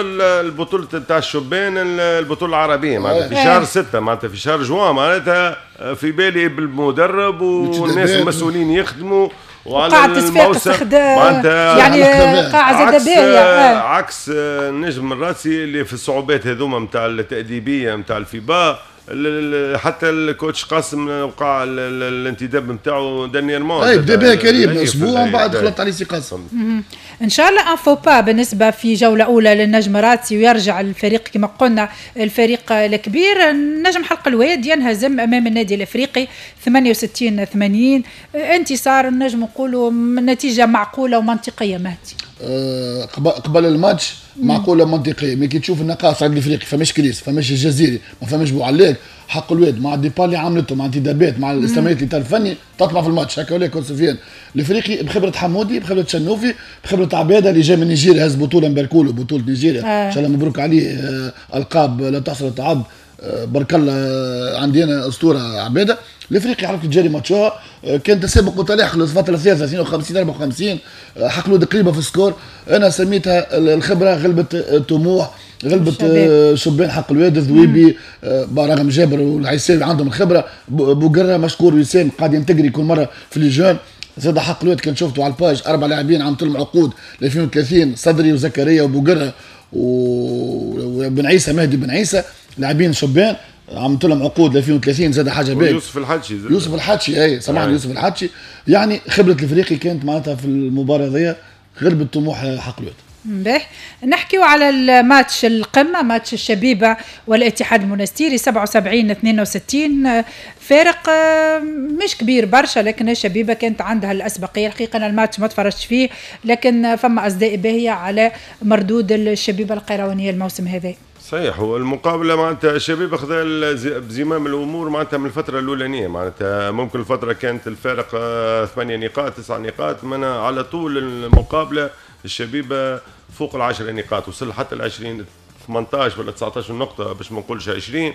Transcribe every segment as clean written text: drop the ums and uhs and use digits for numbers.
البطولة نتاع الشبان، البطولة العربية معناتها في شهر 6، معناتها في شهر جوان، معناتها في بالي بالمدرب والناس المسؤولين يخدموا وعلى الموسم معناتها يعني قاعة زاد باهية. عكس النجم الرادسي اللي في الصعوبات هذوما نتاع التأديبية نتاع الفيبا، حتى ال coach قاسم وقع الانتداب نتاعو dernièrement. اي بدا بها كريم اسبوع ومن بعد خلط عليه سي قاسم. ان شاء الله un faux pas بالنسبة في جولة اولى للنجم رادسي ويرجع الفريق كما قلنا الفريق الكبير. نجم حلق الواد ينهزم امام النادي الافريقي 68-80، انتصار النجم نقولوا نتيجة معقولة ومنطقيه. مهدي قبل الماتش معقولة منطقيه، mais كي تشوف النقائص عند الافريقي، فماش كريس، فماش الجزيري، ما فماش بوعلاق، حق الواد مع ال départ اللي عملته، مع انتدابات، مع الاستمرارية اللي الفني تطمع في الماتش هكا ولا. سفيان الافريقي بخبره حمودي، بخبره شنوفي، بخبره عباده اللي جاي من نيجيريا، هز بطوله مباركولو، بطوله نيجيريا ان شاء الله مبروك عليه، القاب لا تحصر تعد، بارك الله، عندنا اسطورة عباده. الافريقي عرفت تجاري ماتشوها، كان تسابق متلاحق للفترة الثالثة 52-54، حق الواد قريبه في ال score. انا سميتها الخبرة غلبت الطموح، غلبت شبان حق الواد. الذويبي رغم جابر والعيساوي عندهم الخبره، بوقره مشكور، وسام قاعد ينتجري كل مرة في les jeunes. زاد حق الواد كان شفتوا على ال page اربع لاعبين عملت لهم عقود ل 2030، صدري وزكريا وبوقره وبن عيسى، مهدي بن عيسى، لاعبين شبان عملت لهم عقود 2030، زاد حاجة باهيه. يوسف الحدشي. يوسف الحدشي، اي سامحني، يوسف الحدشي. يعني خبره الافريقي كانت معناتها في المباراة هذيا غلبت طموح حق الواد. باهي، نحكيو على الماتش القمة، ماتش الشبيبة والاتحاد المونستيري 77-62، فارق مش كبير برشا لكن الشبيبة كانت عندها الأسبقية. الحقيقة أنا الماتش ما تفرجتش فيه لكن فما أصداء باهية على مردود الشبيبة القيروانية الموسم هذا. صحيح، هو المقابلة معناتها الشبيبة خذا بزمام الامور معناتها من الفترة الاولانيه، معناتها ممكن الفترة كانت الفارق 8 نقاط، 9 نقاط، من على طول المقابلة الشبيبة فوق ال10 نقاط، وصل حتى ال 20، 18 ولا 19 نقطة باش ما نقولش 20.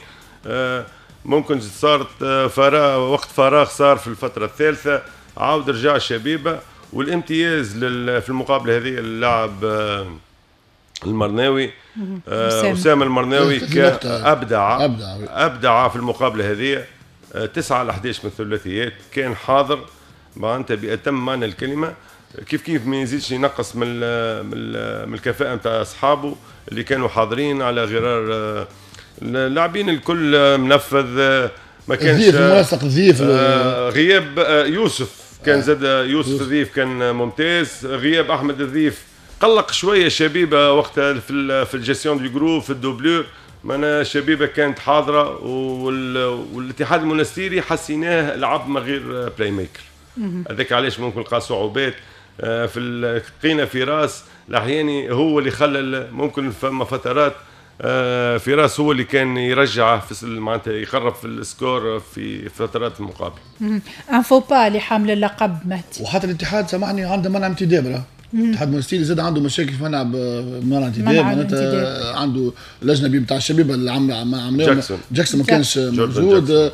ممكن صارت فراغ، وقت فراغ صار في الفترة الثالثه، عاود رجع الشبيبه. والامتياز في المقابلة هذه اللاعب المرناوي، اسامة المرناوي، ابدع ابدع ابدع في المقابلة هذه، 9 على 11 من الثلاثيات، كان حاضر معناتها باتم معنى الكلمه. كيف كيف ما يزيدش ينقص من الكفاءة نتاع اصحابه اللي كانوا حاضرين على غرار اللاعبين الكل منفذ ما كانش ضيف منسق ضيف. غياب يوسف كان زاد يوسف الضيف كان ممتاز. غياب احمد الضيف قلق شوية شبيبة وقتها في ال gestion du groupe، في ال doublure. معناها الشبيبة كانت حاضره، والاتحاد المونستيري حسيناه لعب من غير playmaker، هذاك علاش ممكن لقى صعوبات في لقينا فراس الاحياني هو اللي خلى ممكن فما فترات فراس هو اللي كان يرجع في معناتها يقرب في ال score في فترات المقابلة. un faux pas لحامل اللقب مهدي. وحتى الاتحاد سامحني عنده منع انتداب، الاتحاد المونستيري زاد عنده مشاكل في منع انتداب، معناتها عنده الاجنبي نتاع الشبيبة اللي عم عملناه جاكسون. جاكسون ما كانش موجود.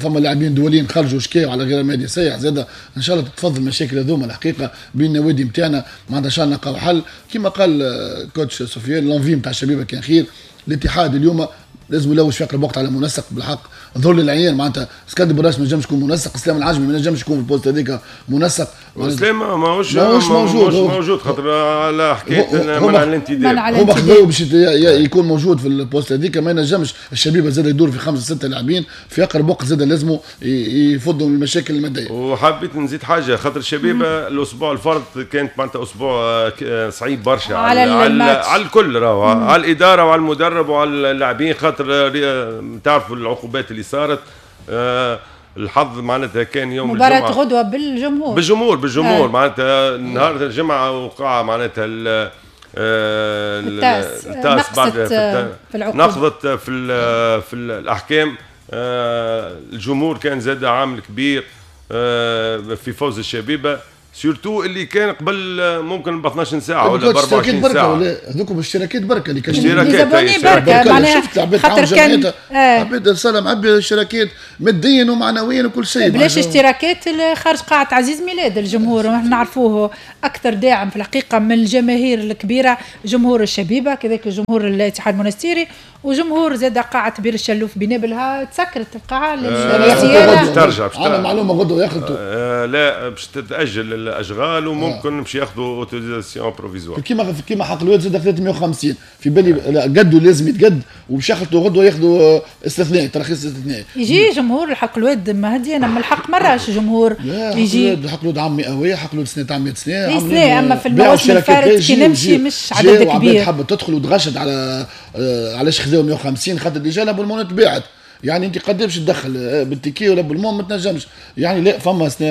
فما لاعبين دوليين خرجوا شكاو على غير مادي سيح. زاد ان شاء الله تتفضل المشاكل هذوما الحقيقة بين النوادي نتاعنا، معناتها ان شاء الله نلقاو حل. كما قال coach سفيان، l'envie نتاع الشبيبة كان خير. الاتحاد اليوم لازم يلوج في اقرب وقت على منسق. بالحق ظهر للعيان معناتها اسكندر براش ما نجمش يكون منسق، اسلام العجمي ما نجمش يكون في ال poste هذيك منسق. اسلام ماهوش موجود، موجود خاطر على حكاية منع الانتداب. هما خذوه باش يكون موجود في ال poste هذيك، ما ينجمش. الشبيبة زاد يدور في خمسة ستة لاعبين. في اقرب وقت زاد لازموا يفضوا المشاكل الماديه. وحبيت نزيد حاجه، خاطر الشبيبة الاسبوع الفرط كانت معناتها اسبوع صعيب برشا على الكل، راهو على الادارة وعلى المدرب وعلى اللاعبين، خاطر تعرفوا العقوبات اللي صارت. الحظ معناتها كان يوم مباراة الجمعة غدوة بالجمهور. بالجمهور، بالجمهور. معناتها نهار الجمعة وقع معناتها التاس، التاس بعد في نقضت في الاحكام. الجمهور كان زاد عامل كبير في فوز الشبيبة. surtout اللي كان قبل ممكن ب 12 ساعة ولا ب 24 ساعة. هذوك اشتراكات بركة اللي كان اشتراكات بركة معناها خاطر كان عباد الصاله معبي اشتراكات ماديا ومعنويا وكل شيء. بلاش اشتراكات خارج قاعة عزيز ميلاد الجمهور ونحن نعرفوه اكثر داعم في الحقيقة من الجماهير الكبيرة، جمهور الشبيبة كذلك جمهور الاتحاد المونستيري وجمهور زاد قاعة بير الشلوف بنابلها تسكرت القاعة للزيارة. ترجع عندنا معلومة غدوه ياخذوا لا باش تتاجل الاشغال وممكن باش ياخذوا autorisation provisoire. كيما حق الواد زاد 350 في بالي قدوا لازم يتقد وباش ياخذوا غدوه ياخذوا استثناء ترخيص استثنائي. يجي جمهور الحق الواد مهدي انا من الحق مراش جمهور يجي حق الواد عام مئوية، حق الواد سنة عام 100 سنة، اما في المواسم الفارط كي نمشي مش عدد كبير. حابة تدخل وتغشد على علاش خذاو 150 خاطر déjà l'abonnement تباعت، يعني انت قد باش تدخل بال ticket ولا l'abonnement ما تنجمش. يعني لا فما سنة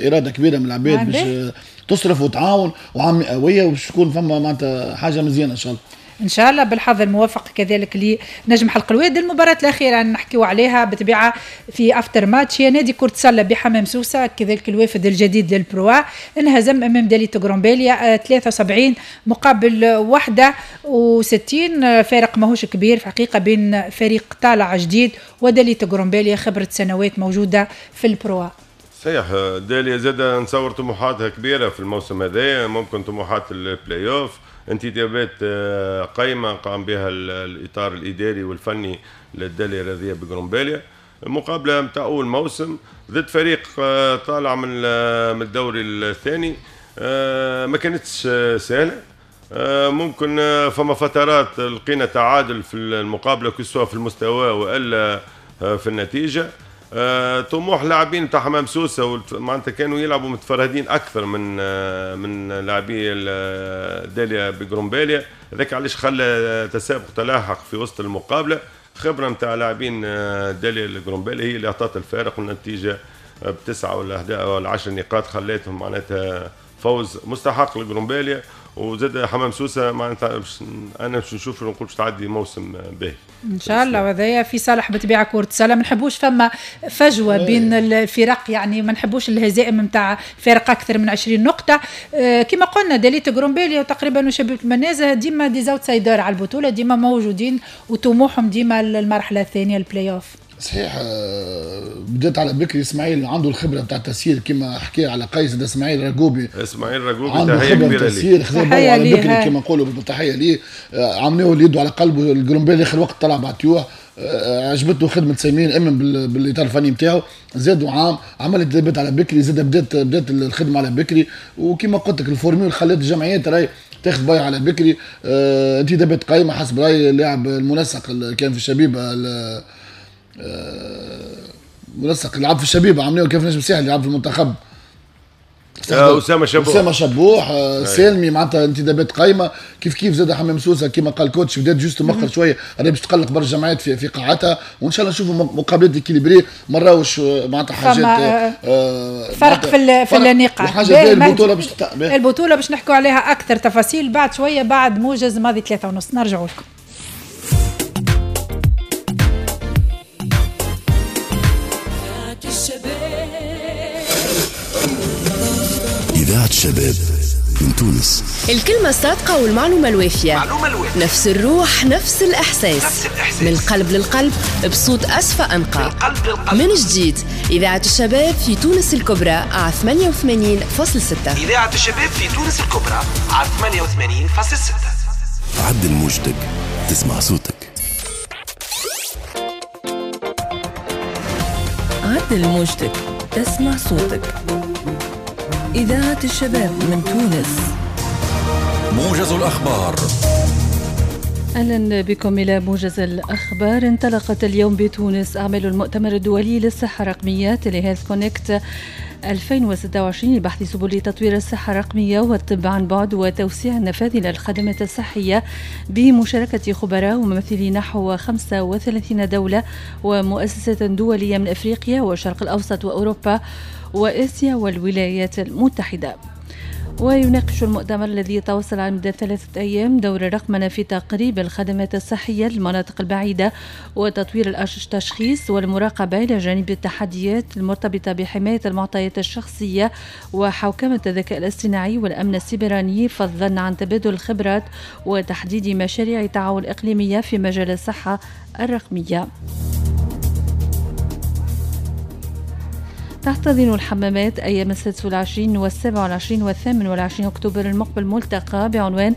اراده كبيرة من العباد باش تصرف وتعاون وعام مئوية وباش تكون فما معناتها حاجة مزيانه ان شاء الله. ان شاء الله بالحظ الموافق كذلك لنجم حلق الواد. المباراة الاخيرة نحكيو عليها بطبيعة في after match هي نادي كره سله بحمام سوسة كذلك الوافد الجديد لل Pro A انهزم امام دالية غرومباليا 73 مقابل 61، فارق ماهوش كبير في الحقيقة بين فريق طالع جديد ودالية غرومباليا خبره سنوات موجودة في ال Pro A. صحيح داليا زاد نصور طموحاتها كبيرة في الموسم هذا، ممكن طموحات البلاي اوف، انتدابات قايمة قام بها الاطار الاداري والفني للداليا الرياضية بقرمباليا. المقابلة نتاع اول موسم ضد فريق طالع من الدوري الثاني ما كانتش سهلة، ممكن فما فترات لقينا تعادل في المقابلة كسوا في المستوى والا في النتيجة. طموح لاعبين تاع حمام سوسة معناتها كانوا يلعبوا متفرهدين اكثر من لاعبي داليا بقرمباليا، هذاك علاش خلى تسابق تلاحق في وسط المقابلة. خبره نتاع لاعبين داليا القرمباليا هي اللي اعطت الفارق، والنتيجة بتسعة ولا 11 ولا 10 نقاط خلاتهم معناتها فوز مستحق لقرمباليا. وزاد حمام سوسة معناتها انا باش نشوف نقول باش تعدي موسم باهي ان شاء الله، وهذايا في صالح بطبيعة كره السلة. ما نحبوش فما فجوة بين الفرق، يعني ما نحبوش الهزائم نتاع فرق اكثر من 20 نقطة. كما قلنا دالية غرومباليا وتقريبا وشبيبه المنازه ديما des outsiders على البطولة، ديما موجودين وطموحهم ديما المرحلة الثانية البلاي اوف. صحيح بدات على بكري اسماعيل عنده الخبرة نتاع التسيير كما حكى على قيس، ده اسماعيل رجوبي، اسماعيل رجوبي تحية كبيرة ليه، خذا على بكري كما نقولوا تحية ليه، عملوه اللي يده على قلبه. القرمبالي اخر وقت طلع بعتيوه، عجبته خدمة سمير امن بالاطار الفني نتاعو، زادوا عام عمل انتدابات على بكري، زاد بدات الخدمة على بكري. وكما قلت لك ال formule خلات الجمعيات راهي تاخذ باي على بكري. انتدابات قايمة حسب راي اللاعب المنسق اللي كان في الشبيبة، منسق لعب في الشبيبة عملوه كيف نجم ساحل يلعب في المنتخب، اسامة شبوح، اسامة شبوح سالمي، معناتها انتدابات قايمة. كيف كيف زاد حمام سوسة كما قال coach بدات juste مؤخر شوية، راهي باش تقلق برشا جمعيات في قاعتها، وان شاء الله نشوفوا مقابلات équilibrées ما نراوش معناتها حاجات فرق في النقاط. وحاجه البطولة باش البطولة باش نحكوا عليها اكثر تفاصيل بعد شوية بعد موجز ماضي 3:30. نرجعوا لكم. إذاعة الشباب من تونس. الكلمة الصادقة والمعلومة الوافية، نفس الروح نفس الإحساس، نفس الإحساس. من القلب للقلب بصوت أصفى أنقى، من جديد إذاعة الشباب في تونس الكبرى على 88.6. إذاعة الشباب في تونس الكبرى على 88.6. عدل موجتك تسمع صوتك. عدل موجتك تسمع صوتك. إذاعة الشباب من تونس. موجز الأخبار. أهلا بكم إلى موجز الأخبار. انطلقت اليوم بتونس أعمال المؤتمر الدولي للصحة الرقمية Telehealth Connect 2026 لبحث سبل تطوير الصحة الرقمية والطب عن بعد وتوسيع النفاذ إلى الخدمات الصحية بمشاركة خبراء وممثلي نحو 35 دولة ومؤسسة دولية من أفريقيا والشرق الأوسط وأوروبا وآسيا والولايات المتحدة. ويناقش المؤتمر الذي يتواصل على مدى 3 أيام دور الرقمنة في تقريب الخدمات الصحية للمناطق البعيدة وتطوير التشخيص والمراقبة، إلى جانب التحديات المرتبطة بحماية المعطيات الشخصية وحوكمة الذكاء الاصطناعي والأمن السيبراني، فضلا عن تبادل الخبرات وتحديد مشاريع تعاون إقليمية في مجال الصحة الرقمية. تحتضن الحمامات أيام 26 و27 و28 أكتوبر المقبل ملتقى بعنوان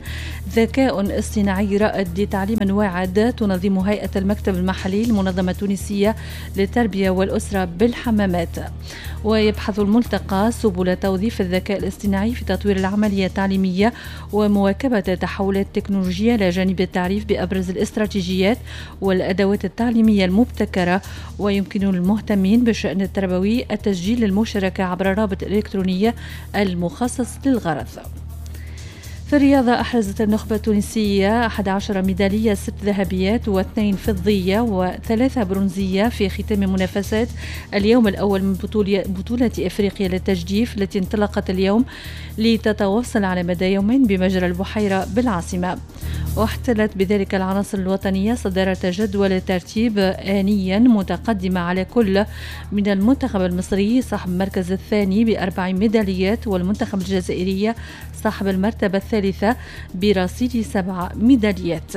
ذكاء اصطناعي رائد لتعليم واعد، تنظم هيئة المكتب المحلي المنظمة التونسية للتربية والأسرة بالحمامات. ويبحث الملتقى سبل توظيف الذكاء الاصطناعي في تطوير العملية التعليمية ومواكبة التحولات التكنولوجية، إلى جانب التعريف بأبرز الاستراتيجيات والأدوات التعليمية المبتكرة. ويمكن المهتمين بالشأن التربوي التسجيل للمشاركة عبر الرابط الإلكتروني المخصص للغرض. في الرياضة، أحرزت النخبة التونسية 11 ميدالية، 6 ذهبيات و2 فضية و3 برونزية في ختام منافسات اليوم الأول من بطولة إفريقيا للتجديف التي انطلقت اليوم لتتواصل على مدى يومين بمجرى البحيرة بالعاصمة. واحتلت بذلك العناصر الوطنية صدارة جدول الترتيب آنيا، متقدمة على كل من المنتخب المصري صاحب المركز الثاني ب4 ميداليات والمنتخب الجزائري صاحب المرتبة الثالثة برصيد 7 ميداليات.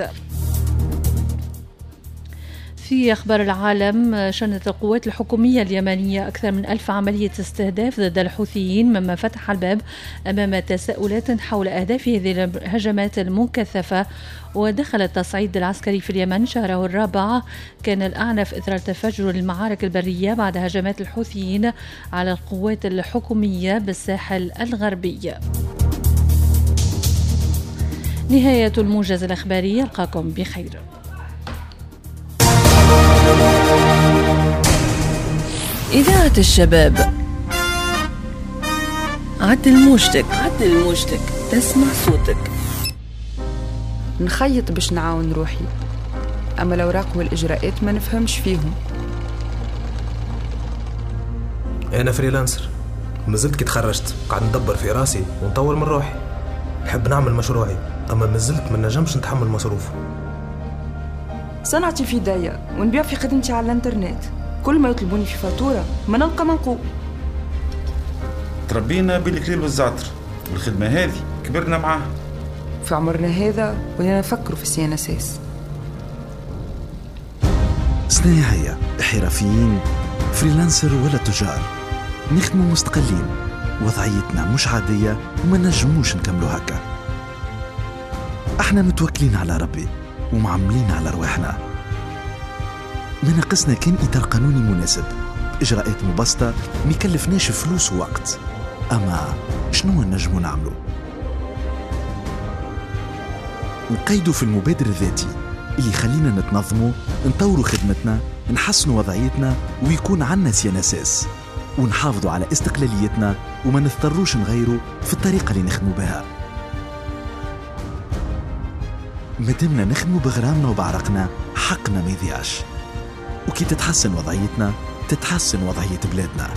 في أخبار العالم، شنت القوات الحكومية اليمنية أكثر من 1000 عملية استهداف ضد الحوثيين، مما فتح الباب أمام تساؤلات حول أهداف هذه الهجمات المكثفة. ودخل التصعيد العسكري في اليمن شهره الرابع، كان الأعنف إثر تفجر المعارك البرية بعد هجمات الحوثيين على القوات الحكومية بالساحل الغربي. نهاية الموجز الإخباري، ألقاكم بخير. إذاعة الشباب، عدل موجتك، عدل موجتك، تسمع صوتك. نخيط باش نعاون روحي، أما الأوراق والإجراءات ما نفهمش فيهم. أنا freelancer، مازلت كي تخرجت قاعد ندبر في راسي ونطور من روحي. نحب نعمل مشروعي، أما مازلت ما نجمش نتحمل مصروفه. صنعتي في داية ونبيع في خدمتي على الانترنت، كل ما يطلبوني في فاتورة ما نلقى منقول. تربينا بالكليل والزعتر، والخدمة هذه كبرنا معاها. في عمرنا هذا ولينا نفكروا في CNSS. صناعية، حرفيين، freelancer ولا تجار، نخدموا مستقلين، وضعيتنا مش عادية وما نجموش نكملوا هكا. احنا متوكلين على ربي ومعملين على رواحنا. ما ناقصنا كان إطار قانوني مناسب، إجراءات مبسطة ما يكلفناش فلوس ووقت. أما شنو نجمو نعملو؟ نقيدو في المبادر الذاتي اللي يخلينا نتنظمو، نطورو خدمتنا، نحسنو وضعيتنا، ويكون عنا CNSS، ونحافظوا على استقلاليتنا وما نضطروش نغيرو في الطريقة اللي نخدمو بها. مادامنا نخدمو بغرامنا وبعرقنا، حقنا ما يضيعش. وكي تتحسن وضعيتنا تتحسن وضعية بلادنا.